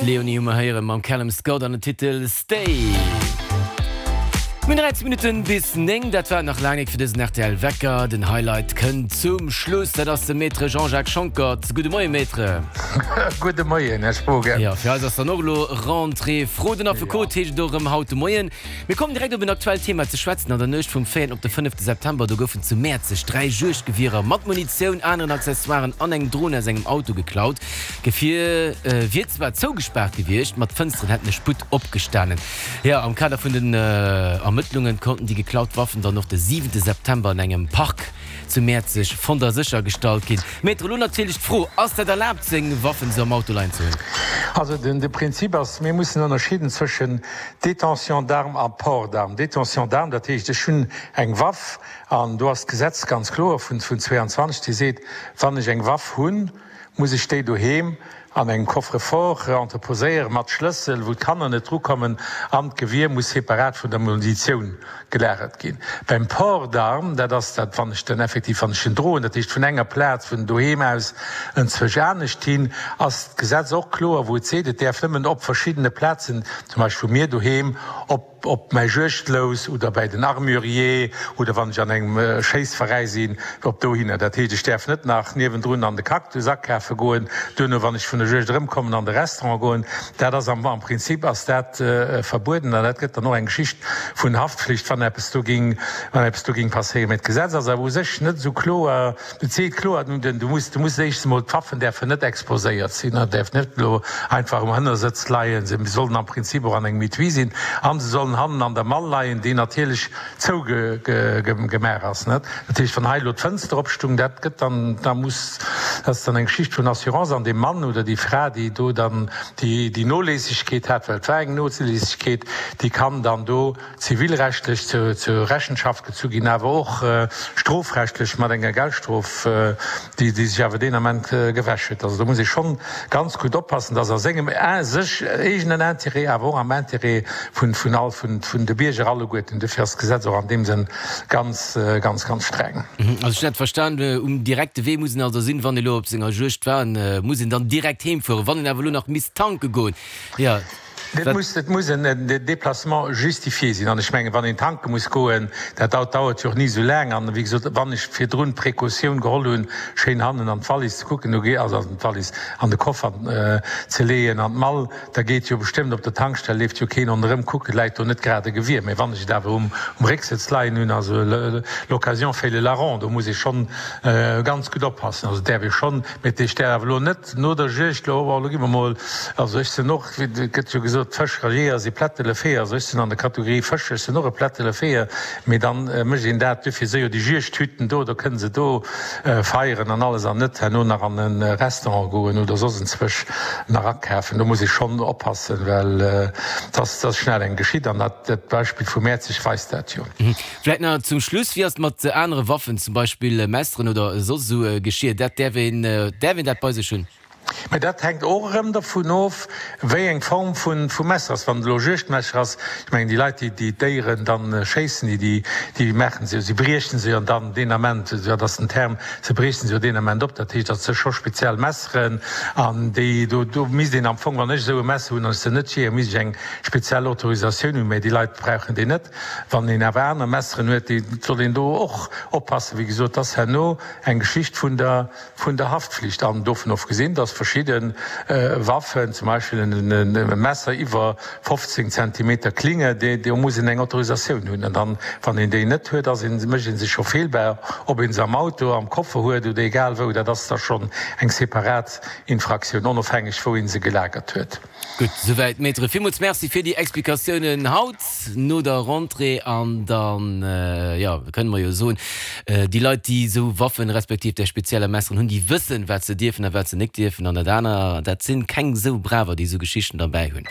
D'Leonie hu mer héiere mam Callum Scott an den Titel Stay. Mir hunn 13 Minutten bis 9, dat war et nach laang nik fir dësen rtl Wecker. Den Highlight kënnt zum Schluss, dat ass de Maître Jean-Jacques Schonckert. Gudde Moien, Maître. Gudde Moien, Här Spogen. Jo, fir eis ass dann och elo Rentrée. Fro den Affekot heescht et och erëm haut de Moien. Mir kommen direkt op en aktuellt Thema ze schwätzen. An der Nuecht vum véierten op de fënnefte September, do goufen zu Mäerzeg 3 Juegdgewierer mat Munitioun, aneren Accessoiren an eng Dron aus engem Auto geklaut. D'Gefier wier zwar zougespaart gewiescht, ma d'Fënsteren hätten e Sputt opgestanen. Jo, am Kader vun den Ermëttlungen konnten déi geklaut Waffen dann och de siwente September an engem Park zu Mäerzeg fonnt a séchergestallt ginn. Maître, elo natierlech d'Fro, Ass dat erlaabt, seng Waffen esou am Auto leien ze hunn? Also de Prinzip ass, mir mussen ënnerscheeden zwëschen Détention d'armes a Port d'armes. Détention d'armes, dat heescht, ech hunn eng Waff an do ass d'Gesetz ganz kloer vun 22, déi seet, wann ech eng Waff hunn, muss ech déi doheem an engem Coffre-fort entreposéieren, mat Schlëssel, wou d'Kanner net drukommen, an d'Gewier muss separat vun der Munitioun gelagert ginn. Beim Port d'armes, dat ass dat, wann ech dann effektiv, wann ech en droen, dat heescht vun enger Plaz, vun doheem aus enzwousch anescht hin, ass d'Gesetz och kloer, wou et seet, et däerf nëmmen op verschiddene Plazen, zum Beispill vu mir doheem op, op mäi Juegdlous oder bäi den Armurier oder wann ech an engem Schéissveräi sinn, op dohinner. Dat heescht, ech däerf net nach niewendrun an de Cactus akafe goen, duerno, wann ech vun der Juegd erëmkommen, an de Restaurant goen. Dat ass am Prinzip ass dat verbueden an dat gëtt dann och eng Geschicht vun Haftpflicht, wann eppes do ging, wann eppes do ging passéieren. Mä d'Gesetz ass awer u sech net esou kloer. Et seet kloer, du muss, du muss éischts emol, d'Waffen däerfen net exposéiert sinn, ne, däerf net elo einfach um Hënnersëtz leien, se sollen am Prinzip och an engem Etui sinn an se sollen hannen an der Mall leien, déi natierlech zougemaach ass, net. Dat heescht, wann hei elo d'Fënster opstung, dat gëtt dann, da muss, dat ass dann eng Geschicht vun Assurance an dee Mann oder déi Fra, déi do dann déi, déi Noléissegkeet hat, well et war eng Noléissegkeet, déi kann dann do zivilrechtlech zur Rechenschaft gezu ginn, awer och strofrechtlech mat enger Geldstrof, déi sech awer deen Ament gewäsch huet. Also do muss ee schonn ganz gutt oppassen, dass a sengem sech eegenen Intérêt, awer och am Intérêt vun all vun de Bierger alleguerten. Dofir ass d'Gesetz och an deem Sënn ganz, ganz, ganz streng. Also ech hunn dat verstan, um direkte Wee muss een also sinn, wann ee elo op senger Juegd war, muss een dann direkt heem fueren. Wann een awer elo nach misst tanke goen, jo, Et muss, et muss en Déplacement justifié sinn. An ech mengen, wann een tanke muss goen, dat dauert jo och ni esou laang. An wéi gesot, wann ech virdrun d'Précautioun geholl hunn, schéin hannen an d'Wallis ze kucken, do also an d'Wallis, an de Koffer ze leeën, an d'Mall, da geet jo bestëmmt op der Tankstell, leeft jo keen ronderëm kucken, läit do net grad e Gewier. Mä wann ech et awer um Récksëtz leien hunn, also l'occasion fait le larron, do muss ee schonn ganz gutt oppassen. Also däerf ee schonn, mä ech däerf awer elo net no der Juegd elo, oh, elo gi mer mol, also ech sinn och, Et gëtt jo gesot, Fëscher a Jeeër si Plättelefeeër. Also ech sinn an der Kategorie Fëscher, ech sinn och e Plättelefeeër. Mee dann mécht een dat, duerfir si jo déi Juegdhütten do, da kënne se do feieren an alles an net herno nach an e Restaurant goen oder soss enzwousch nach akafen. Do muss ee schonn oppassen, well et ass schnell eng geschitt an dat Beispill vu Mäerzeg weist dat jo. Vläit nach zum Schluss, Wéi ass et mat anere Waffen, zum Beispill Messeren oder soss esou Geschir? Dat däerf een, däerf een dat bei sech hunn? Mä dat hänkt och erëm dervun of, wéi eng Form vu Messer ass. Wann et elo e Juegdmesser ass, ech mengen déi Leit, déi déi Déieren dann schéissen, déi déi maachen se jo, si briechen se jo dann deen Ament, dat ass den Term, se briechen se jo deen Ament op. Dat heescht, dat si scho speziell Messeren an déi do, do misst een am Fong, wann ech esou e Messer hunn an ech sinn net Jeeër, misst ech eng speziell Autorisatioun hunn, mä déi Leit brauchen déi net. Wann een awer aner Messeren huet, déi soll een do och oppassen. Wéi gesot, dat ass herno eng Geschicht vun der vun der Haftflicht an dovun ofgesinn, dass verschidde Waffen, zum Beispill e Messer iwwer 15 Zentimeter Klinge, do muss een eng Autorisatioun hunn. An dann, wann een déi net huet, ass een, mécht ee sech scho feelbar, ob ee se am Auto, am Koffer huet oder egal wou. Dat ass da schonn eng separat Infraktioun, onofhängeg wou ee se gelagert huet. Gutt, souwäit Maître. Villmools Merci fir déi Explikatiounen haut no der Rentrée. An dann, jo, kënne mer jo soen, déi Leit, déi esou Waffen, respektiv där spezieller Messeren hunn, déi wëssen, wat se dierfen a wat se nik dierfen. An dat aner, dat sinn keng esou Braver, déi esou Geschichten derbäi hunn.